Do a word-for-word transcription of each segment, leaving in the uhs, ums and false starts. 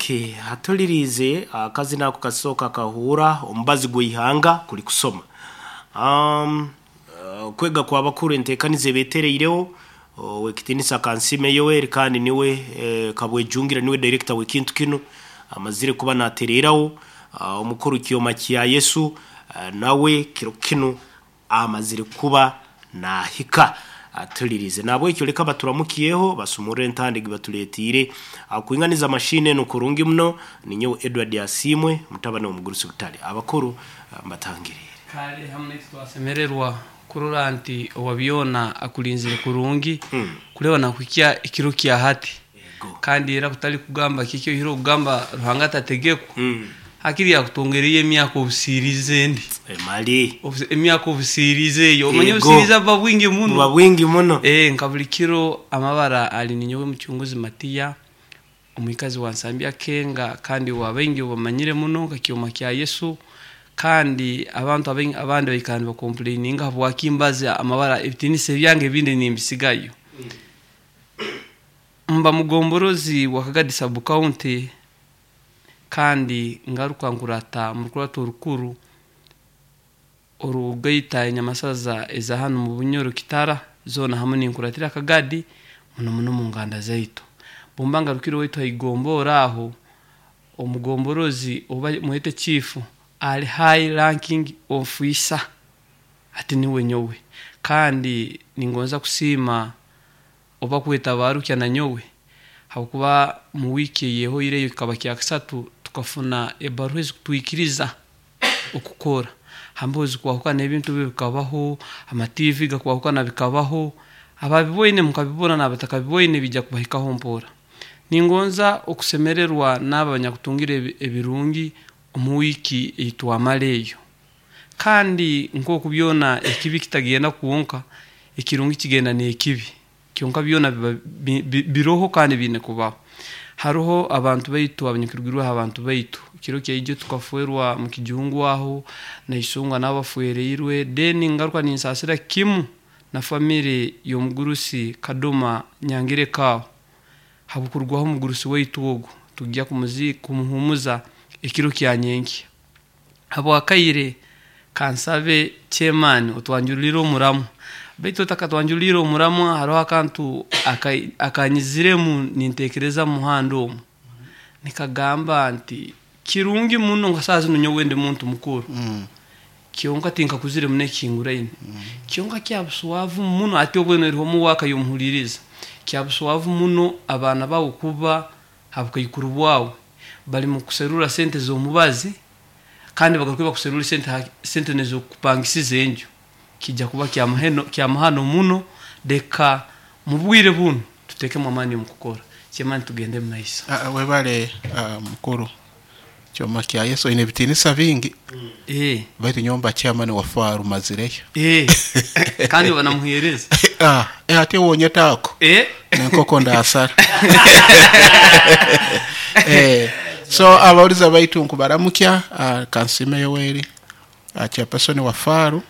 Okay, hatulirize akazina ako kasooka kahuura omubazi gw'ihanga kuli kusoma. Um, uh, kwega kw'abakuru enteekaniza ebeetereireho owekitinisa Kansime Yoweri kandi niwe eh, Kabwejungira niwe director w'ekintu kinu amazire kuba natereeraho uh, omukuru Kyoma kya Yesu uh, nawe kiro kinu amazire kuba nahika atulirize nabwekyo leka baturamukiyeho basumurre entandigi batuleetiire akuinganiza mashine eno kurungi muno ninyowe Edward Asimwe mutabani w'omugurusi Butale abakuru ah, mbatangirire. Kale hamwe naitu twasemererwa kurora nti owabyona akulinzire kurungi Mm. kureba nakuhikya ekiro kya hati. Ego. Kandi era kutali kugamba kiki ohire okugamba Ruhanga atategekwa Mm. hakiri yakutongereye emyaka obusirize endi. Emali Obusi- emyaka obusirize eyo omanye Ego. obusirize buba bwingi buba muno. bwingi muno. Eh, nka buli kiro amabara ali ninyowe muchunguzi Matiya omwikazi wa Nsambya Kenga kandi wabaingi bamanyire muno nka Kyoma kya Yesu. Kandi abantu abaingi abandi baikara nibakomplaininga habwakimbaza amabara ebitinisa ebyange ebindi nimbisigayo. Mba mugomborozi wa Kagadi sub county kandi ngaruka nkurata mu rukurato orukuru orugaita enyamasaza eza hanu mu Bunyoro Kitara zona hamwe ninkuratira Kagadi muno muno mu nganda zaitu. Bumba ngarukire waitu haigombora aho omugomborozi oba muhete chief ali high ranking officer ati niwe nyowe. Kandi ningonza kusiima oba kweta barukya na nyowe habwokuba mu wiki yehoireyo kikaba kya kasatu tukafuna ebaruha ezikutwikiriza okukora hambozi kwahukana ebintu byo bikabaho ama T V gakwahukana bikabaho ababiboine mukabibona n'abatakabibwoine bijja kubahikaho mpora. Ningonza okusemererwa n'aba banyakutungira ebi-, ebirungi omu wiki eitwamara eyo. Kandi nk'oku byona ekibi kitagenda kwonka ekirungi kigenda n'ekibi kyonka byona biba bi-, bi-, biroho kandi biine kubaho. Haroho abantu baitu abanyakirugirweho abantu baitu kiro kyaijo tukaferwa mu kijungu aho naisonga n'abafereirwe then ngaruka ninsasira kimu na family y'omugurusi Kadoma Nyangire Kawo habukurwaho omugurusi waitu ogu tujja kumuzi-, kumuhumuza ekiro kya nyenkya. Habwakaire kansabe chairman otwanjulire omuramu baitu otakatwanjulire omuramu hariho akantu aka-, akanyiziremu nintekereza muhanda omu nikagamba nti kirungi muno nka saa zino nyowe ndi muntu mukuru. Mm. Kyonka tinkakuzire muno ekihinguraine. Mm. Kyonka kyabuswavu muno ati obweno eriho omuwaka yomuhuliriza kyabuswavu muno abaana bawe kuba habukaikuru bwawe bali mu kuserura sente z'omubazi kandi bagaruka bakuserura sente ha-, sente nezokupangisiza enju kijja kuba kya muheno kya muhano muno. Deka mu bwire buno tutekemu amaani mu kukora kyemani tugende mu maiso. Ah, webale, ah, mukuru Kyoma kya Yesu ine bitinisa bingi. Mm. Eh. Baitu nyomba chairman wa faru mazireyo. Eh. Kandi banamuhereza. Ah, eh, ate wonye tako. Eh. Nenkoko ndasara. Eh. So abawuliza baitu nkubaramukya, ah, Kansime Yoweri, ah, chairperson wa faru.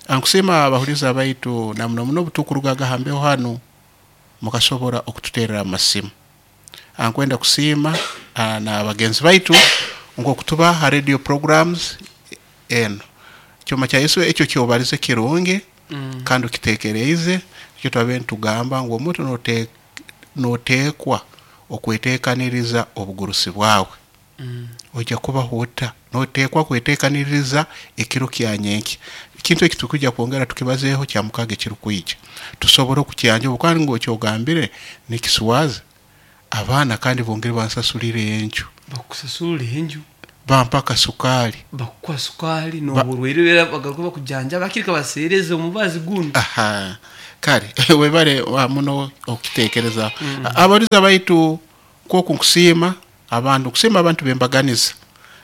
Ankusima abahuliza baitu na muno muno butukurugaga hambeho hanu mukasobora okututerera amasimu. Ankwenda kusiima, ah, na bagenzi baitu ngokutuba ha radio programs eno. Kyoma kya Yesu ekyo kyobalize kirungi. Mm. Kandi ukitekereize ekyo twabe ntugamba ngu omuntu note-, notekwa okwetekaniriza obugurusi bwawe. Mm. Ojja kuba huta notekwa kwetekaniriza ekiro kya nyenki. Ekintu eki tukujja kwongera tukibazeeho kya mukaga ekirukwija tusobora okukyanja obukandi ngu okyogambire nikiswaza abaana kandi bongere bansasulire enju. Bakusasulire enju bampa akasukari bakukuha sukari Ba- n'oburwaire era bagaruka bakujanja bakirika baseereze omubazi guno. Aha kale webale wa muno okitekereza. Mm. Abaliza baitu kwoku nkusiima abantu kusiima abantu bembaganiza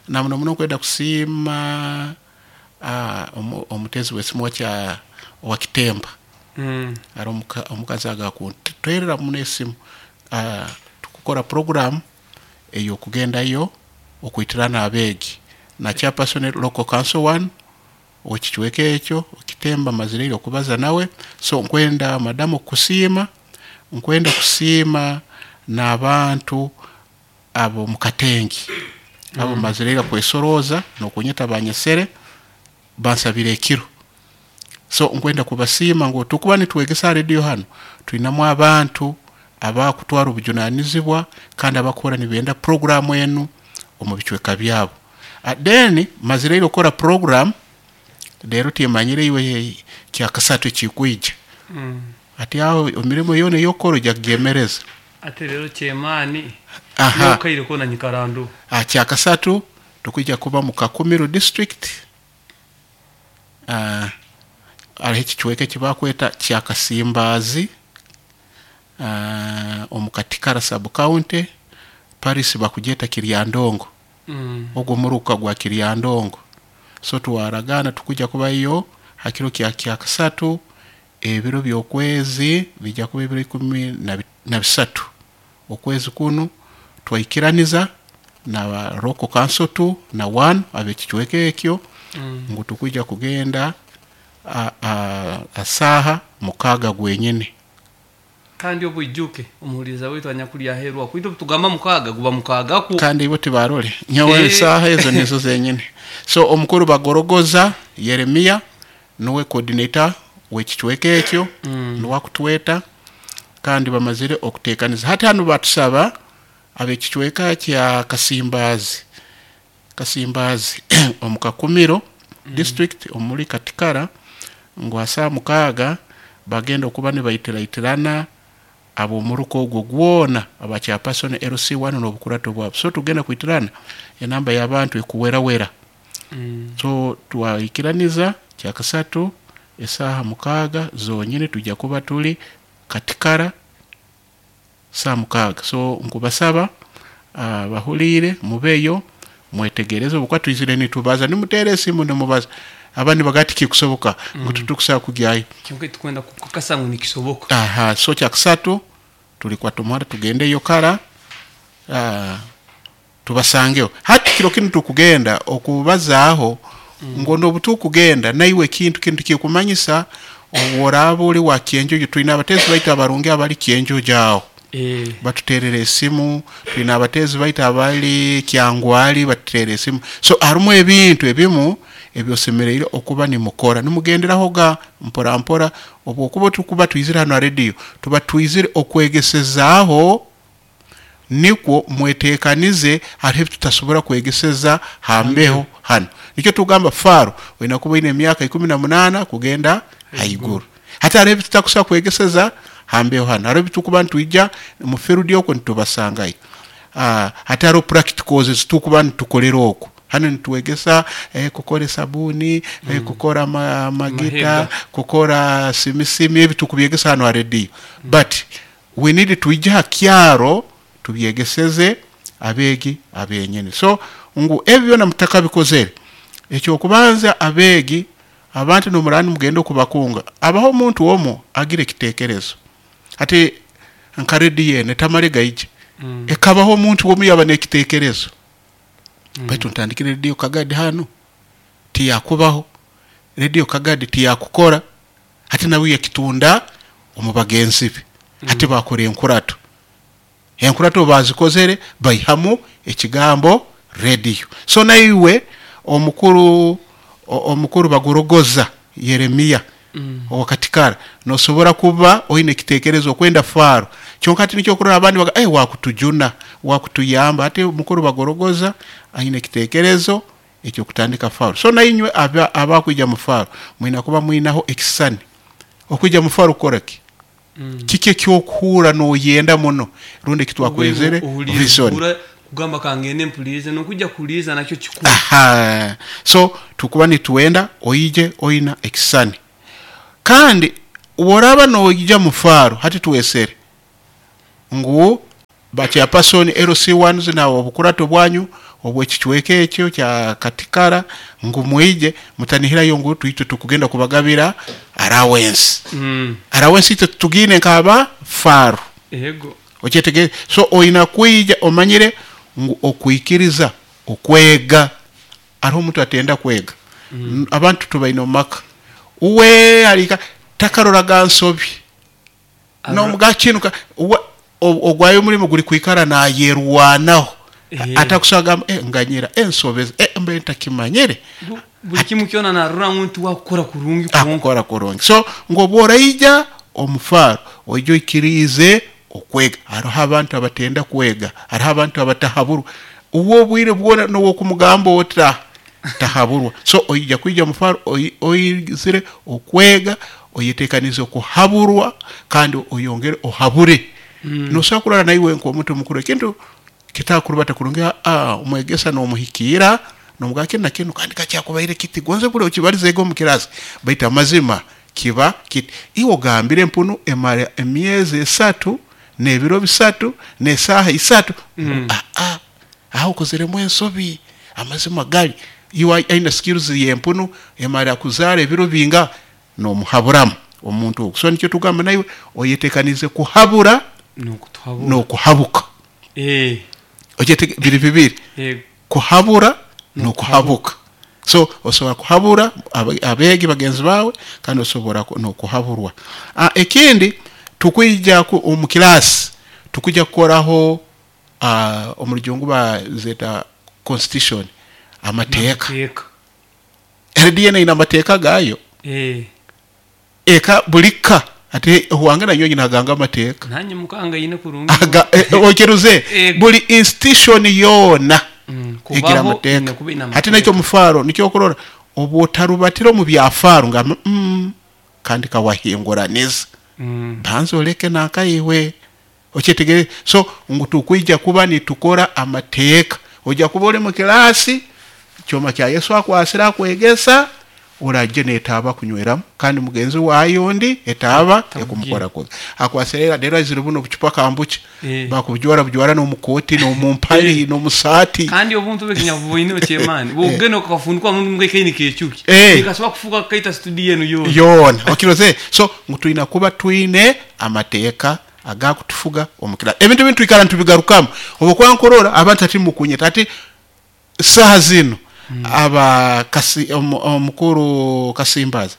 na muno muno kwenda kusiima, ah, omu-, omutezi w'esimu wakya wa Kitemba. Mm. Ari omuka-, omukazi agakuntwerera muno esimu, ah, tukukora program ey'okugendayo okwitirana abeegi na chairperson local council one okichweka ekyo Kitemba mazireire okubaza nawe. So nkwenda madamu kusiima, nkwenda kusiima n'abantu abo mukatengi abo mm. Mazirega kwesoroza nokunyeta banyesere bansabire ekiro. So nkwenda kubasiima ngu tukuba nitwegesa radio hano tuinamu abantu abakutwara obujunanizibwa kandi abakora nibenda program enu omu bicweka byabo. Then mazireire okora program rero timanyire iwe kyakasatu kikwija mm. Ati aho emirimo yone yokoro jagemereza ate rero chemani yokaire kona nyikarandu ah kyakasatu tukija kuba mu Kakumiro district ah ari kichweke kibakweta kyakasimbazi ah omukatikara sub county Paris bakujeta Kiryandongo mm. Ogwo muruka gwa Kiryandongo. So tuwaragana tukuja kuba iyo hakiro kya kyakasatu ebiro byokwezi bijja kuba ebiro ikumi na bisatu okwezi kuno twaikiraniza na Roko Council two na one abekichweke ekyo mm. Ngu tukuja kugenda a, a, asaha mukaga gwenyene kandi obuijuke omuhuliza wetu anyakulya herwa kwito tugamba mukaga guba mukaga ku kandi ibo tibarole nyawe e. Saha ezo nizo zenyene. So omukuru bagorogoza Yeremia nuwe coordinator wekichweke ekyo mm. Nuwa kutweta kandi bamazire okutekaniza hati hano batusaba abekichweka kya Kasimbazi Kasimbazi omukakumiro mm. district omuli Katikara ngu asa mukaga bagenda okuba ne baitira abo muruko ogwo gwona abacha person L C one n'obukurato bwabo. So tugenda kuitirana enamba y'abantu ekuwera wera mm. So twaikiraniza kyakasatu esaha mukaga zonyine tujja kuba tuli Katikara saa mukaga. So nkubasaba uh, bahulire mubeyo mwetegereze obukwa twizire nitubaza nimutere esimu nimubaza abandi bagati kikusoboka mm. Ngo tutukusa kugyayo kyonke tukwenda kukakasa ngo nikisoboka. Aha so kyakasatu tulikuwa tumara tugende yokara uh, tubasangeo hati kiro kinu tukugenda okubazaaho mm. Ngo nobutu kugenda naiwe kintu kintu kikumanyisa oworaba uli wa Kyenjojo tuina abatezi baita abarungi abali Kyenjojo aho eh batuterere esimu tuina abatezi baita abali Kyangwali batuterere esimu. So harumu ebintu ebimu ebyosemereire okuba ni mukora nimugenderaho ga mpora mpora obwokuba tukuba twizira hano radio tuba twizire okwegesezaaho nikwo mwetekanize hariho tutasobora kwegeseza hambeho hano. Nikyo tugamba faro wena kuba ine emyaka ikumi na munana kugenda haiguru hata hariho tutakusa kwegeseza hambeho hano hariho tukuba ntwijja mu field yoko nitubasangayo ah hata hariho practicals tukuba ntukolera oko hano nituwegesa eh, kukora sabuni mm. eh, kukora ma, magita kukora simisimi ebi tukubyegesa hano radio mm. But we need tuija kyaro tubyegeseze abegi abenyene. So ngu ebyo na mutaka bikozere ekyo kubanza abegi abantu nomurani mugendo kubakunga abaho omuntu omo agire kitekerezo ati nka radio yene tamale gaije mm. Ekabaho omuntu omo yaba nekitekerezo mm. Baitu ntandikire radio Kagadi hano tiyakubaho radio Kagadi tiyakukora hati nawe yakitunda omubagenzi be mm. Hati bakore enkurato enkurato bazikozere bayihamu ekigambo radio. So naiwe omukuru omukuru bagorogoza Yeremia mm. Owakatikara nosobora kuba oine kitekerezo kwenda faro kyonka ati nikyo kurora abandi baga eh wakutujuna wakutuyamba ati mukuru bagorogoza aine kitekerezo ekyo kutandika faro. So nainywe abakwija mu faro mwina kuba mwinaho ekisani okwijja mu faro koraki mm. Kike kyokuhura no yenda muno rundi kitwakwezere vision kugamba kangende mpulize nokujja kuliza nakyo kikuru. Aha so tukuba nituenda oije oina ekisani kandi woraba noija mu faro hati tuwesere ngu bacha person L C one na obukurato bwanyu obwekichweke ekyo kya Katikara ngu muije mutanihirayo ngu tuite tukugenda kubagabira allowance mm. Allowance ite tugine nkaba faro yego okyetege. So oina kuija omanyire ngu okuikiriza okwega ariho omuntu atenda kwega mm. Abantu tubaino maka uwe alika takaroraga nsobi no mugakinuka ogwayo mulimo guli kwikara na yerwanaho Eh. Atakusagamba eh, nganyira ensobeza eh, mbe ntakimanyire. Bu- buli kimu kyona narora ngu nti wakukora kurungi kwonka. Akukora kurungi. So ngobworaija omufaro oija oikirize okwega. Hariho abantu abatenda kwega, hariho abantu abatahaburwa, uwo obwire bwona nowokumugamba ota tahaburwa. So oija kwija omufaro oi- oizire okwega, oyetekanize okuhaburwa kandi oyongere ohabure. mm. Nosobola kurora naiwe nk'omuntu mukuru ekintu kitakurubata kurungi, ah, omwegesa n'omuhikiira nomugamba kinu na kinu kandi kakyakubaire kiti gonze buli okibarizeego omu kirasi, baitu amazima kiba kiti iwe ogambire empunu emara emyezi esatu n'ebiro bisatu n'esaaha isatu. mm. ah, ah, aho okozeremu ensobi, amazima gali iwe aina skills y'empunu emara kuzaara ebiro binga n'omuhaburamu omuntu ogwo. So nikyo tugamba naiwe oyetekanize kuhabura nokutuhabura n'okuhabuka. Eh, Okyete- biri bibiri, eh, kuhabura n'okuhabuka. So osobola kuhabura abe- abeegi bagenzi bawe kandi osobola ku- n'okuhaburwa. Ah, ekindi tukwija ku- omu kirasi tukwijja kukoraho ah, omu rujungu bazeta constitution, amateeka. Amateeka. R D N ina amateeka gayo. Eh, eka buli ka ate wange nanyo nyina aganga amateeka. Nanye mukanga yine kurungi. Aga- eh, okiruze Eh, buli institution yona Mm, egira kubaho amateeka. ina kuba ina Ate amateeka. nakyo mufaro nikyo kurora obwotarubatira omu byafaro nga mm, kandi kawahinguraniza. Mm, banza oleke nakaiwe okyetegere. So ngu tukwija kuba nitukora amateeka, ojja kuba ori mu kirasi kyoma kya Yesu akwasira akwegesa oraje netaaba kunyweramu kandi mugenzi wayo ondi etaaba ekumukora kubi akwasira rero azira buno bucupa kambucha Eh. bakubujwara bujwara n'omukoti n'omumpali n'omusaati. Kandi obuntu bwekinyabuboine okyemani bwogenda okafundikwa mundu mbwekaini kekyuki Eh. nikasobola kufuka kaita studio enu yona. Yona okiroze. So ngu twina kuba twine amateeka agakutufuga omukira ebintu bintu twikara ntubigarukamu obukuba nkurora abantu ati mukunyeta ati saha zino mm. aba kasi, omu- omukuru Kasimbazi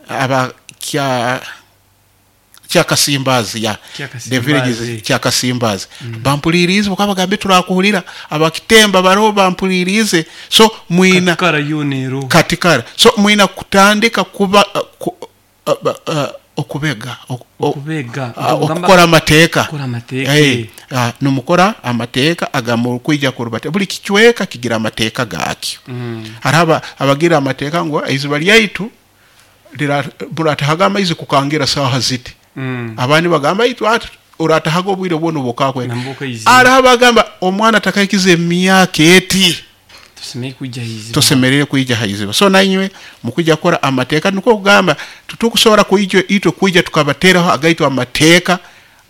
aba kya kya Kasimbazi ya Kya the villages Kasimbazi. kya Kasimbazi mm. bampulirize bakabagambe turakuhulira abakitemba baro bampulirize. So mwina katikara yona ero katikara. So mwina kutandika kuba uh, ku, uh, uh, okubega ok- o- okubega uh, okukora amateeka. Okukora amateeka. Eh, ah, numukora amateeka agamukwija kurubata buli kicweka kigira amateeka gakyo. Mm. Hariho aba- abagira amateeka ngu iziba lyaitu lira- muratahaga amaizi kukangira saha ziti. Mm. Abandi bagamba itu ati uratahaga obwire bwona obukakwenda. Nambuka iziba. Hariho abagamba omwana atakaikiza emyaka eti tusemeye kujja iziba. Tusemerere kwija haiziba. So nainywe mukwija kukora amateeka nikwo kugamba tutukusobola kwija itwe kwija tukabateraho agaitu amateeka.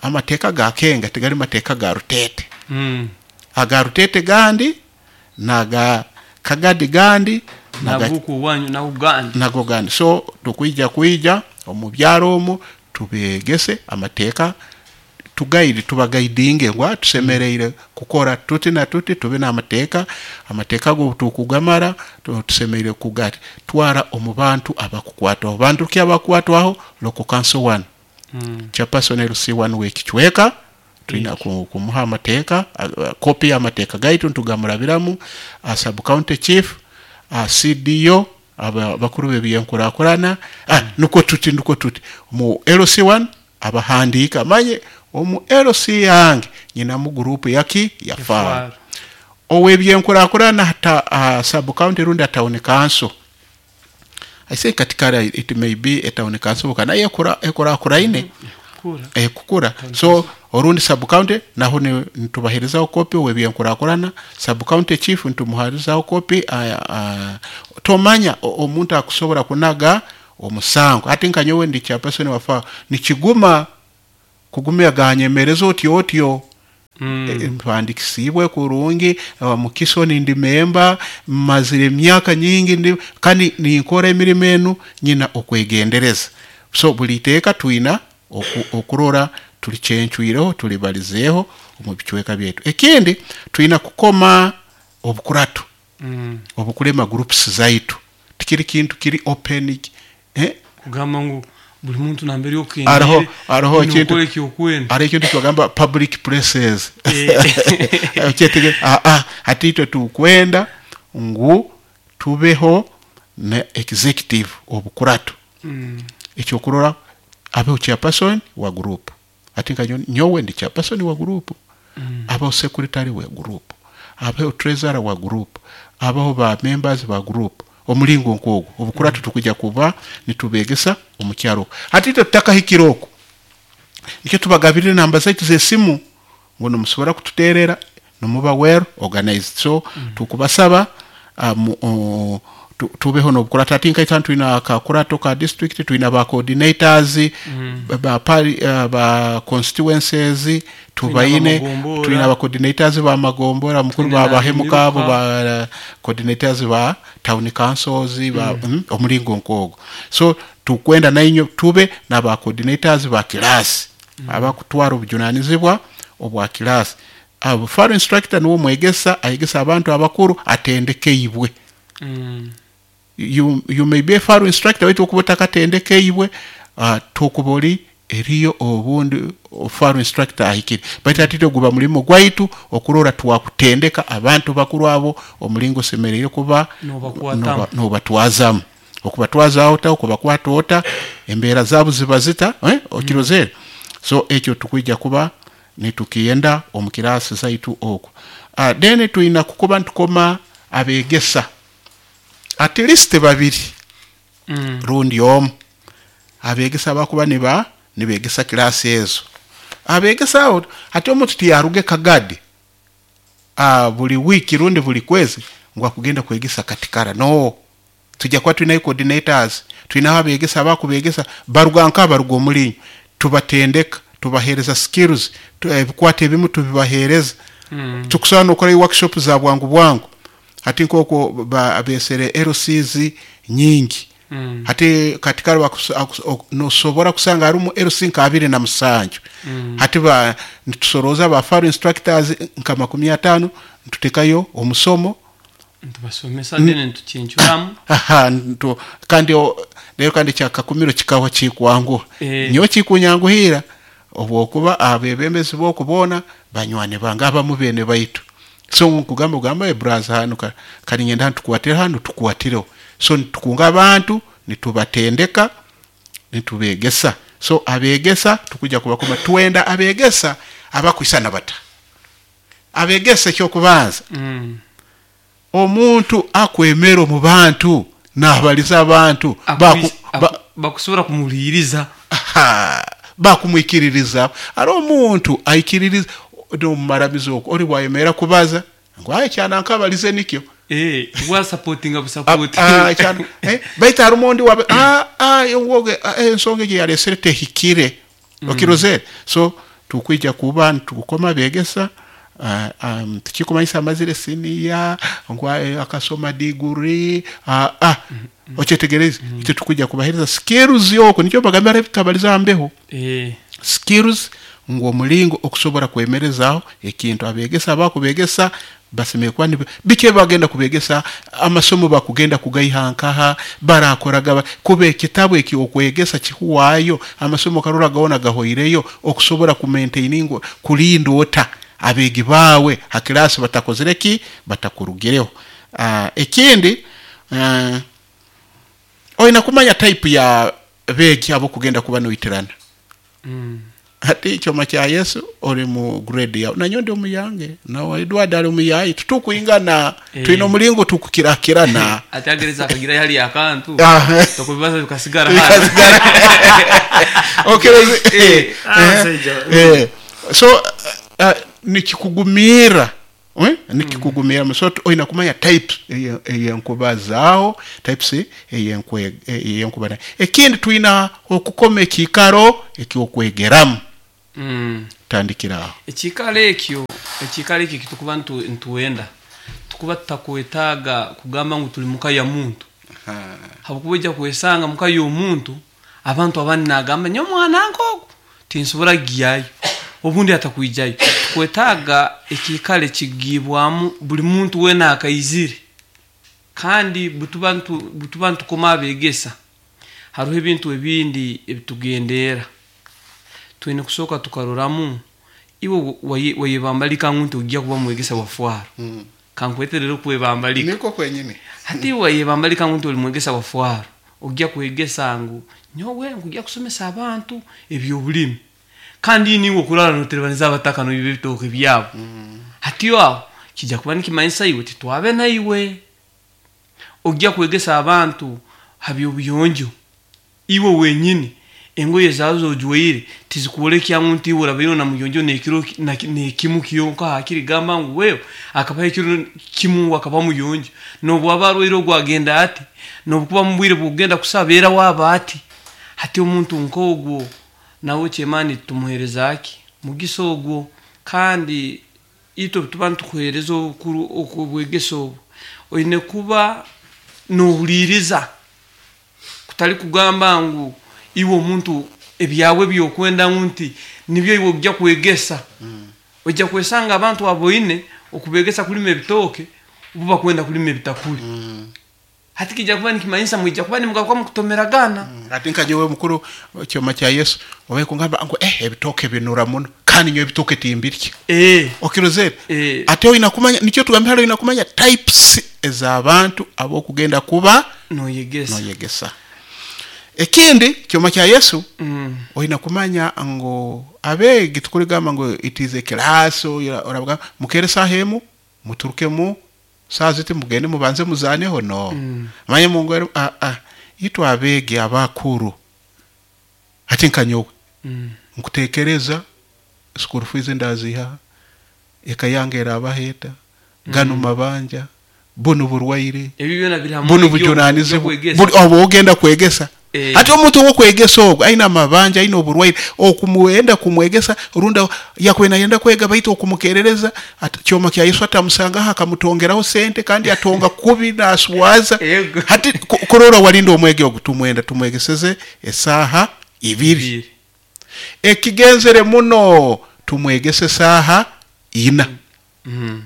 Amateeka gakenga tigali mateeka ga rutete. Mm. Aga rutete gandi naga kagadi gandi naga naguku wanyu na Uganda nago gandi. So tukwija kwija omu byaro omu tubegese amateeka tugaidi tubagaidinge ngwa tusemereire kukora tuti na tuti tube n'amateeka. Amateeka go tukugamara tu- tusemereire kugati twara omu bantu abakukwatwaho bantu ki abakukwatwaho local council one Mm. chairperson L C one w'ekicweka tulina ku- kumuha amateeka a- a- kopi y'amateeka gaitu ntugamurabiramu, a sub county chief, a C D O, aba- bakuru b'ebyenkurakurana. Ah, nuko tuti nuko tuti mu L C one abahandiika manye omu L C yange nyinamu gurupu yaki ya FAR Far. ow'ebyenkurakurana hata uh, sub county rundi a town council. I say katikara it may be a town council kana ekura ekuraakuraine Kura. eh, kukura. So orundi sub county naho ni- nitubaherizaho kopi ow'ebyenkurakurana, sub county chief nitumuherizaho kopi. uh, uh, tomanya o- omuntu akusobola kunaga omusango ati nkanyowe ndi chairperson wafa nikiguma kugumya ganyemereza otyo otyo. Mm. Eh, mpandikisibwe kurungi uh, mukisoni ndi memba mazire emyaka nyingi ndi kandi ninkora emirimo enu nyina okwegendereza. So buli iteeka twina oku, okurora tulicencwireho tulibalizeeho omu bicweka byaitu. Ekindi twina kukoma obukuratu Mm. obukulema groups zaitu tikiri kintu kiri open eh? Kugamba ngu Buli muntu nambere Hariho- hariho ekintu- okendere ekyokwenda. Hariho ekintu kibagamba public places. Eh. Okyetege- ah, ah, hati itwe tukwenda ngu tubeho ne executive obukurato. Mm. Ekyokurora abeho chairperson wa group, ati nka nyo- nyowe ndi chairperson wa group, Mm. abeho secretary wa group, abeho treasurer wa group, abeho ba members ba group, omulingo nkogwo obukurato. Tukujja kuba nitubegesa omukyaro. Hati itwe tutakahikire okwo, nikyo tubagabirire namba zaitu z'esimu ngu nimusobora kututerera nimuba well organized. So mm. tukubasaba um, uh, tu- tubeho n'obukurato. Ati nkaita twina akakurato ka district, twina ba coordinators mm. ba, pari, uh, ba constituencies tubaine. Amagombora. Twina ba coordinators ba magombora mukuru, Twina ba bahemuka abo, emiruka. ba coordinators ba town councils ba mm. omulingo nkogwo. So tukwenda nainyo tube n'aba coordinators ba class mm. abakutwara obujunanizibwa obwa class. Abo faro instructor niwo mwegesa ayegesa abantu abakuru atendekeibwe. Mm. you, you may be a faro instructor, waitu okuba otakatendekeibwe, uh, tokuba oli eriyo obundi faro instructor ahikire, baitu atite guba mulimo gwaitu okurora twakutendeka abantu bakuru abo omulingo osemereire kuba Nobakwatamu. noba- nobatwazamu, okubatwaza ota, okubakwata ota, embeera zaabo ziba zita, eh? Okirozere. So ekyo tukwija kuba nitukiyenda omu kirasi zaitu okwo. uh, then twina kukuba ntukoma abegesa at least babiri Mm. rundi omu, abegesa bakuba niba nibegesa kirasi ezo. Abegesa abo, hati omuntu tiyaruge Kagadi uh, buli wiki rundi buli kwezi ngu akugenda kwegesa Katikara. No, tujja kuba tulinayo coordinators, tulinaho abegesa abakubegesa baruga nka baruga omulinyo, tubatendeka, tubahereza skills, tu- ebikwata ebimu tubibahereza. Mm. Tukusobola nokorayo workshop za bwangu bwangu. Hati nkoko ba- besere L Cs nyingi. Mm. Hati Katikara bakus- akus- ok- nosobora kusanga harimu L C nka abiri na musanju. Mm. Hati ba nitusoroza ba faro instructors nka makumi atano, nitutekayo omusomo. Ntubasomesa then ntukincuramu. Aha, ntu, kandi o- rero kandi kyakakumiro kikawa kikwanguha. Eh. Nyowe kikunyanguhira obwokuba abebembezi bokubona banywani bange, abamu bene baitu. So nkugamba ugamba, "Eh, braza, hano ka- kali ngenda hano tukwatire, hano tukwatireho." So nitukunga abantu, nitubatendeka, nitubegesa. So abegesa tukujja kubakoma, twenda abegesa abakwisana bata. Abegesa ekyokubanza, Mm. omuntu akwemera omu bantu, nabaliza abantu, baku- Akwi- ba- aku- bakusobola kumuwuliriza. Aha, bakumwikiririza. Ari omuntu aikiririza nomumaramizo okwo ori bwayemera kubaza ngu aye kyana nkabalize nikyo. Eh, bwasapotinga Ah, busapoti. ah, kyana- eh, baitu harimu ondi wabe ah, ah, woge, ah, eh, ensonga egyo yalesere tehikire, okirozere. So tukwija kuba nitukukoma begesa, uh, um, tukikumanyisa amazire siniya ngu eh, akasoma diguri, ah, ah, okyetegereze. Itwe tukwija kubahereza skills okwo, nikyo bagamba tabaliza mbeho. Eh, Skills ngu omulingo okusobora kwemerezaho ekintu. Abegesa abakubegesa basemere kuba nibe- biki bagenda kubegesa, amasomo bakugenda kugaiha nkaha, barakoraga ba- kuba ekitabu eki okwegesa kihuwayo, amasomo karora gawona gahoireyo, okusobora kumaintaininga, kulinda ota abegi bawe ha kirasi batakozere ki, batakurugireho. uh, ekindi, uh, olina kumanya type ya begi abo kugenda kuba noitirana. Mm. Hati ekyoma kya Yesu ori mu grade yawe, nanyo ndi omuyange, nawe Edward ali omuyayi, tutukwingana. Eh. Twina omulingo tukukirakirana. Ate agereza akagira hali akantu Ah. tokubibaza bikasigara hano. Okay, eh, Ah, eh, musajja. eh. So uh, uh, nikikugumira, eh? Nikikugumira. So olina kumanya types eye- eyenkuba zaawo, types eyenkwe- eyenkuba nayo. Ekindi, twina okukoma ekiikaro ekyokwegeramu. Mm. Tandikira aho. Ekiikaro ekyo, ekiikaro ekyo kitukuba ntu- ntuwenda tukuba tutakwetaaga kugamba ngu tuli muka ya muntu, habwokuba ojja kwesanga muka y'omuntu abantu abandi nagamba nyo omwana nk'ogu tinsobora kugyayo, obundi atakwijayo. Tukwetaaga ekiikaro ekigibwamu buli muntu wena akaizire. Kandi butuba ntu- butuba ntukoma abegesa Hariho ebintu ebindi ebitugendera twine kusooka tukaroramu iwe waye- wayebambalika ngu nti ojja kuba mwegesa wa fwaro. Mm. Kankweterera okwebambalika. Niko kwenyini. Hati iwe wayebambalika ngu nti oli mwegesa wa fwaro, ojja kwegesa ngu nyowe nkujja kusomesa abantu ebyobulimi, kandi niwe okurara noterebaniza abataka noiba ebitooke byabo. Hati aho kijja kuba nikimanyisa iwe titwabe naiwe. Ojja kwegesa abantu ha byobuyonjo, iwe wenyini engoye zawe zojwaire tizikuolekya ngu nti iwe orabaire na muyonjo nekiro na- nekimu kyonka, hakiri gamba ngu wewe akabaho ekiro kimu ngu akaba muyonjo, nobwaba arwaire ogwo agenda ati, nobukuba mubwire bwokugenda kusaba era waba ati. Hati omuntu nk'ogwo nawe kyemani tumuhereza ki mugisa ogwo. Kandi itwe tuba nitukuhereza obukuru obwegesa obu, oine kuba nohuliriza, kutali kugamba ngu iwe omuntu ebyawe byokwenda ngu nti nibyo iwe ojja kwegesa. Ojja kwesanga abantu aboine okubegesa kulima ebitooke bo bakwenda kulima ebitakuli. Hati kijja kuba nikimanyisa mwijja kuba nimugaruka mukutomeragana. Ati nka nyowe mukuru kyoma kya Yesu obaye kungamba ngu eh ebitooke binura muno, kandi nyowe ebitooke timbirya. Eh. Okirozere? Eh. Ate oyina kumanya, nikyo tugambye hali oyina kumanya types ez'abantu ab'okugenda kuba noyegesa. Noyegesa. Ekindi kyoma kya Yesu, Mm. oyina kumanya ngu abeegi tukuligamba ngu it is a class, oravuga mukere saha emu muturukemu saa ziti mugende mubanze muzaneho no. Mm. Manye mungu a a itwe abeegi abakuru ati nka nyowe Mm. nkutekereza school fees ndaziha, eka yange erabaheta, gano mabanja, buno burwaire, ebyo byona biri hamwe buno n'ebyo- bujunanizibwa by'okwegesa. buli oba ogenda kwegesa. Eh. Ate omuntu owokwegesa ogwo aina amabanja, aina oburwaire, okumuwenda kumwegesa runda yakwena yenda kwega baitu okumukerereza ati kyoma kya Yesu atamusangaho akamutongeraho sente kandi atonga kubi naswaza. Yego. Hati ku- kurora walinda omwege ogwo tumwenda tumwegeseze esaha ibiri. Ibiri. Ekigenzere muno tumwegese saha ina. Mm.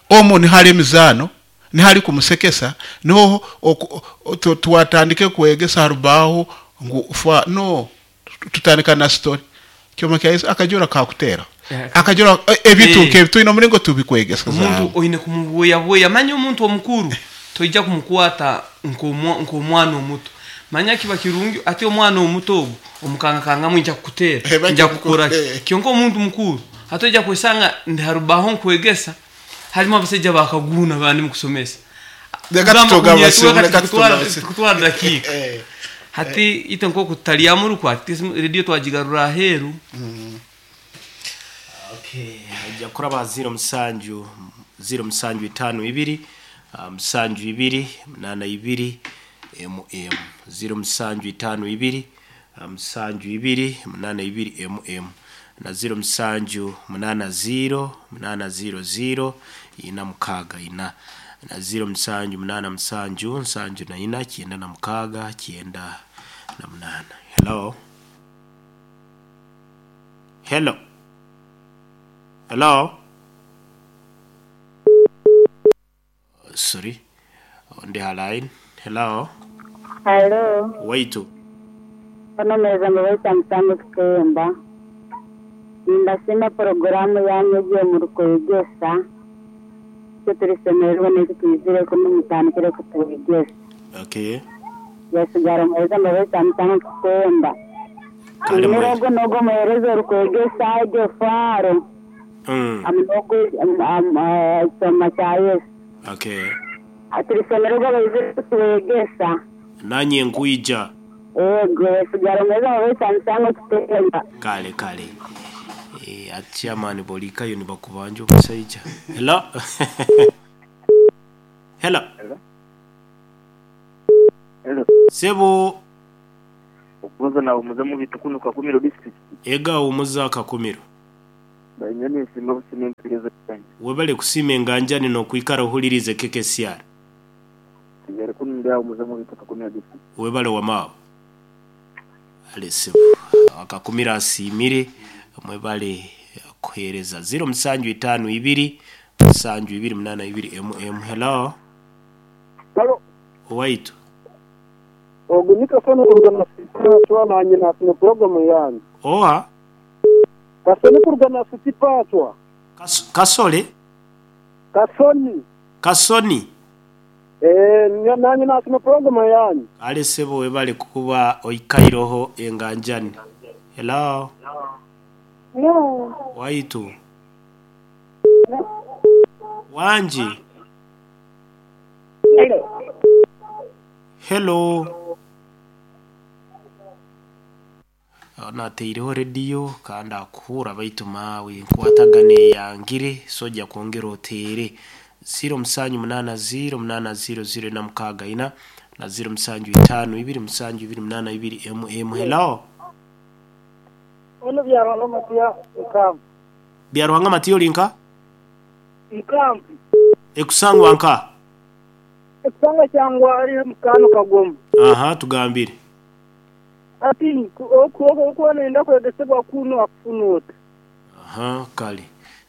Omo nihali emizano, nihali kumusekesa, niho oku- o- tu- twatandike kwegesa harubaho ngu fa no tutandika na story. Kyoma kya Yesu akajora kakutera. Eh. Akajora eh, ebintu Eh. nke tuyina omulingo tubikwegesa Omuntu zaabo. oine kumubuyabuya, manya omuntu omukuru toija kumukwata nk'omwa- nk'omwana omuto. Manya kiba kirungi ate omwana omuto ogwo omukangakangamu nja kukutera, Eh, bajja nja kukora ki. kukutera. Kyonka omuntu mukuru atoija kwesanga ndi harubaho nkwegesa harimu abasajja bakaguna bandi mukusomesa. Reka Kugamba tutoga kunyetwa, abasimu, kati reka tukutwara- tutoga abasimu. tukutwara dakiika. Eh. Hati ite nkoku tutalyamu ati rediyo twagigarura aheeru. Okay, ajja kuraba ziro musanju ziro musanju itaano ibiri, ah, musanju ibiri munana ibiri m m ziro musanju itaano ibiri, ah, musanju ibiri munana ibiri m m na ziro musanju munana ziro munana ziro ziro ina mukaaga ina na ziro musanju munana musanju nsanju na ina kyenda na mukaaga kyenda na munana. Hello, hello, hello. Sorry, on the line. Hello. Halo, Waitu. ono meza mubaita musango kukemba. Nimbasima porogaramu yanyu egiye muri kwegesa. Icyo turisemererwa n'icyo twizire ko mutandikire kutwegesa. Okay. Yasigara muheza mubaita musango kukemba. Kale mwezi. Nirogo nogo muhereza uri kwegesa ejo faro. Mm. Amunogo soma kya Yesu. Okay. Turisemererwa baizire kutwegesa. Nanye nkuija. Ego, yasigara muheza mubaita musango kukemba. Kale kale. Eh, achairman bolikayo nibakubanja omusajja. Hello. Hello. Hello. Sebo. Okubanza nawe muze mu bitukunu Kakumiro district. Ega umuza Kakumiro. Banyoni nsima busima empirizo yange. Webale kusima enganjani n'okwikara ohulirize K K C R. Tugere kununda umuze mu bitu Kakumiro district. Webale wamao. Ale sebo. Akakumira asimire mwebale kuhereza ziro musanju itaano ibiri musanju ibiri munana ibiri M M. Hello. Hello. Waitu. Ogu nikasoni kuruga na City Pachwa nanye nasime programu yanyu. Oha Kasoni kuruga na City Pachwa. Kas, kasole Kasoni. Kasoni. Eh nanye nasime programu yanyu. Ale sebo webale kukuba oikairoho enganjani. Hello. Hello. Waitu. Wanji. Hello. Hello. Nateireho rediyo kandi akuhura baitu mawe nkwatagane yangire sojja kwongera oteere ziro musanju munana ziro munana ziro ziro na mukaaga ina na ziro musanju itaano ibiri musanju ibiri munana ibiri mm. Hello. Ono Byaruhanga Matiya nkampu. Byaruhanga Matiya olinka? Nkampu. Ekusangwa nka? Ekusangwa kyangwa ari mukano kagoma. Aha, tugambire. Ati okuko nenda kwegesebwa kuno akufunota. Aha, kale.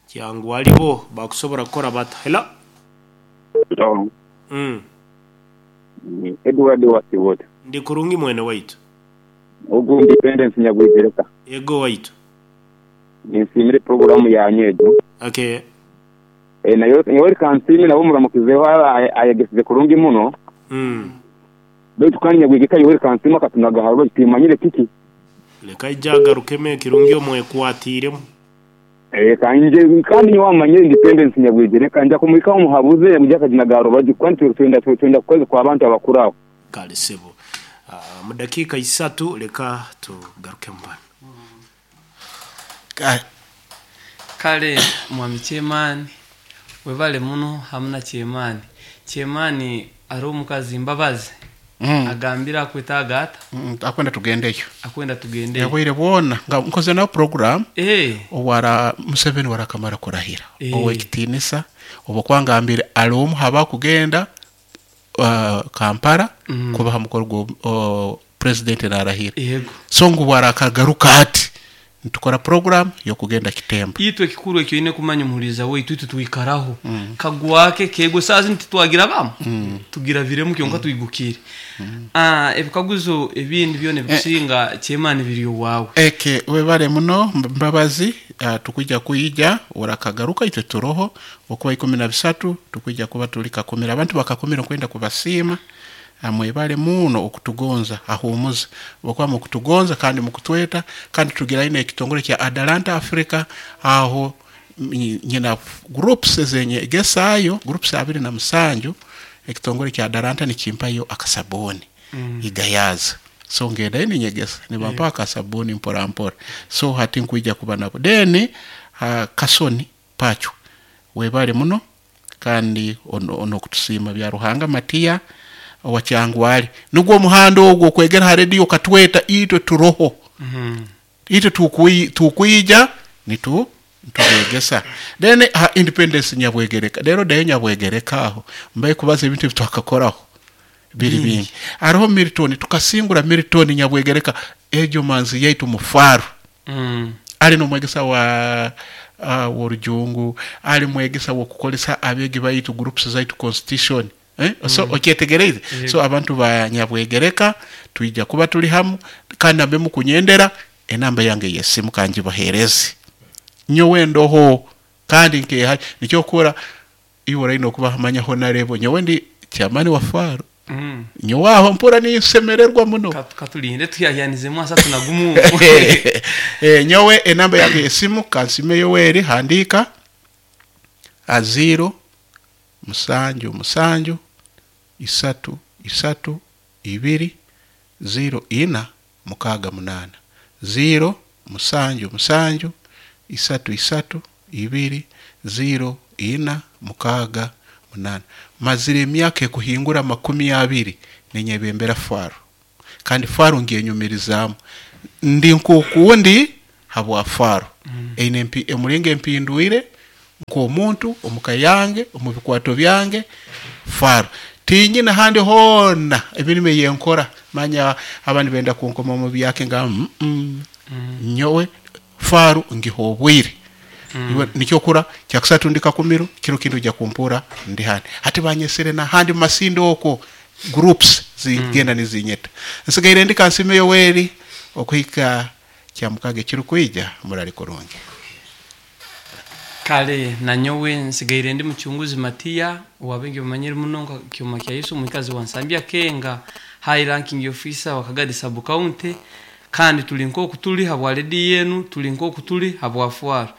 Kyangwa alibo bakusobora kukora bata. Hello. Hello. Mm. Edward Wasiwota. Ndi kurungi mwene waitu. Ogu Independence Nyabwegereka. Ego waitu. Ninsimire programu yanyu ejo. Okay. Eh nayo yori kansimi nabo muramukizeho ayegesize kurungi muno. Mm. Baitu kandi Nyabwegereka yori kansimi akatunaga harwo timanyire kiki. Leka ijagarukeme kirungi omwe kwatiremu. Eh kanje kandi wamanyire Independence Nyabwegereka nja kumwika omuhabuze mujaka jinagaro baji kwantu twenda twenda kukwezi kwa abantu abakuraho. Kale sebo. Uh, mu dakika isatu leka tugaruke mbana. Kale mwami Chemani webale muno hamna Chemani. Chemani ari omukazi Mbabazi. Mm. Agambira akwetaaga ata Mm, akwenda tugendeyo. Akwenda tugendeyo. Yabwire bwona nga nkoze na program eh owara Museveni warakamara kurahira. Eh. Owekitinisa obukwangambire ali omu haba kugenda uh, Kampala Mm. kubaha mukoro gwo uh, president narahira. Yego. So ngu warakagaruka ati nitukora program yokugenda Kitembo. Itwe kikuru ekyo ine kumanya omuhuriza waitu itwe twikaraho. Mm. Kagwake kego sazi ntitwagira bamu. Mm. Tugira viremu kyonka mm. twigukire. Mm. Ah ebikaguzo ebindi byone bikusinga eh. Chemani biri wawe. Eke webale muno Mbabazi uh, tukujja kuyija urakagaruka itwe turoho okuba ikumi na bisatu tukujja kuba tuli kakumira abantu bakakumira kwenda kubasiima. Amwebale muno okutugonza ahumuza bakwa mukutugonza kandi mukutweta kandi tugira ine ekitongole kya Atalanta Africa aho nyina groups zenye gesayo groups abiri na musanju ekitongole kya Atalanta nikimpayo akasabuni mm. igayaza so ngenda ine nyegesa nibampa akasabuni mpora mpora so hati nkuija kuba nabo deni uh, Kasoni Pacho webale muno kandi ono, ono kutusima bya Ruhanga Matiya wakyangwali nugwo omuhanda ogwo okwegera ha radio katweta itwe turoho mm -hmm. itwe tukui tukuija nitu ntubegesa then ha Independence Nyabwegereka lero dayo Nyabwegereka aho mbaye kubaza ebintu bitwakakoraho biri mm. bingi ariho Milton tukasingura Milton Nyabwegereka ejo manzi yaitu mufaru mm. ali no mwegesa wa uh, worujungu ali mwegesa wo kukolesa abegi baitu groups zaitu constitution Eh? So mm. okyetegereze yeah. So abantu ba Nyabwegereka tuija kuba tuli hamu kandi ambe mukunyendera enamba yange yesimu kanji bahereze nyowe ndoho kandi nke nicyo kora iwora ino kuba hamanya honarebo nyowe ndi chamani wa Faro mm. nyowe aho mpura nisemererwa muno katulinde tuyayanizemu asatu nagumu eh nyowe enamba yange yesimu kansime Yoweri handika a zero musanju musanju isatu isatu ibiri zero ina mukaga munana zero musanju musanju isatu isatu ibiri zero ina mukaga munana. Mazire emyaka ekuhingura makumi abiri nenyebembera Faro kandi Faro ngiyenyumirizamu ndi nkukundi habwa Faro mm. Eine mpi emulinge empinduire nkomuntu omukayange omubikwato byange Faro tinyina handi hona emirimo yenkora manya abandi benda kunkoma mu byake nga mm, mm. Mm. Nyowe Faro ngihobwire mm. Nikyo kura kyakusatu ndika kumiro kiro kindu ja kumpura ndi handi hati banyesere na handi masindo oko groups Zigenda nizinyeta. Nsigaire ndi Kansime Yoweri okuhika kyamukaga ekirukwija, murali kurungi. Kale nanyowe nsigaire ndi Muchunguzi Matiya, wabengi bamanyire muno nka Kyoma kya Yesu, mwikazi wa Nsambya Kenga, high ranking officer wa Kagadi sub county. Kandi tuli nkoku tuli habwa redi yenu, tuli nkoku tuli habwa Fwaro.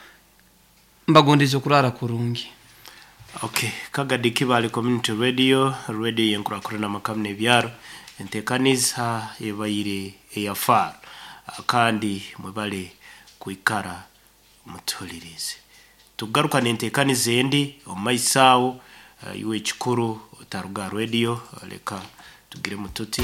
Mbagondeze okurara kurungi. Okay, Kagadi Kibale Community Radio, radio yenkurakurana makamu n'ebyaro, entekaniza ebaire eya Faro. Kandi mwebale kwikara mutuhulirize. Tugaruka n'entekaniza endi omu maiso awo. uh, iwe ekikuru otaruga radio, leka tugire mututi.